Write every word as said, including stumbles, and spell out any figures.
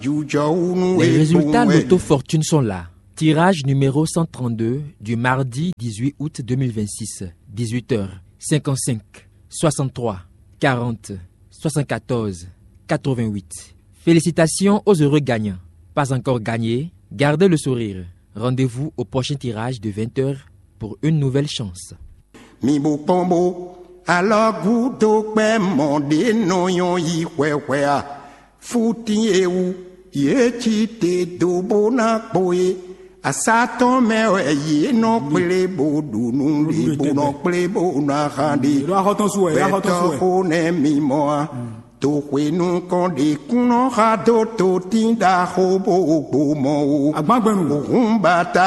Les résultats Lotto Fortune sont là. Tirage numéro cent trente-deux du mardi dix-huit août deux mille vingt-six, dix-huit heures cinquante-cinq, soixante-trois, quarante, soixante-quatorze, quatre-vingt-huit. Félicitations aux heureux gagnants. Pas encore gagné ? Gardez le sourire. Rendez-vous au prochain tirage de vingt heures pour une nouvelle chance. Mi bo kpɔ́n bo alɔ gúdo kpɛ́ mɔ ɖě nɔ nyɔ́ yi hwɛhwɛ a? Fútín e wú yě cí te dó bó ná kpo é. Asá tɔn mɛ wɛ yě nɔ kplé bó ɖu nú ɖě bó nɔ kplé bó ná hán ɖě. Ɖo axɔtɔn su wɛ, axɔtɔn su wɛ. Gbɛtɔ́ xó nɛ́ mi mɔ a? Toxwenu kɔn ɖě kún nɔ xa dó totín ɖaxó bó gbó mɔ o. Agbangbɛnu. Òhun bata.